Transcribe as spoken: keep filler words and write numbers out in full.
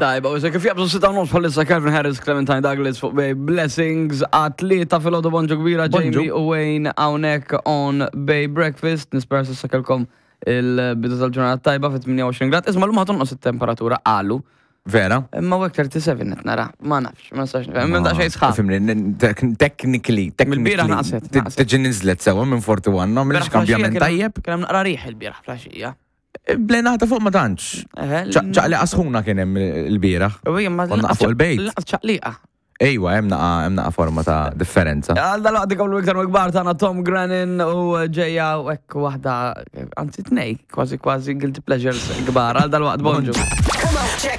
Tajba, u se kif jabżu sitta u nofs bħalissa Calvin Harris, Clementine Douglas fuq Bay Blessings, għat-tlieta filgħodu bonġu kbira Bonġu. Jamie u Wayne hawnhekk on Bay Breakfast. Nispera s'issa kellkom il-bidu tal-ġurnata tajba fit tmienja u għoxrin grad. Isma' l-lum ħa tonqos it-temperatura qalu. Vera? Imma u tlieta u tletin qed nara, ma nafx, ma nistax nifhem. Minn daqsxejn sħab. Fimni, technically, Mill-bieraħ technically. naqset, naqset. Tiġi nizlet sewa minn erbgħa u erbgħin, no, mill kambjament tajjeb. Kien hemm naqra riħ il-bieraħ filgħaxija. Blenata fuq ma tantx. Ċaqliqa sħuna kien hemm il-bieraħ. Konna fuq il-bejt. Lanqas ċaqliqa. Ejwa, hemm naqa hemm naqa forma ta' differenza. Għal dal-waqt ikomplu iktar kbar tagħna Tom Grennan u ġejja u hekk waħda, anzi tnej, kważi kważi guilty pleasures kbar. Għal dal-waqt bonġu. Come on, check.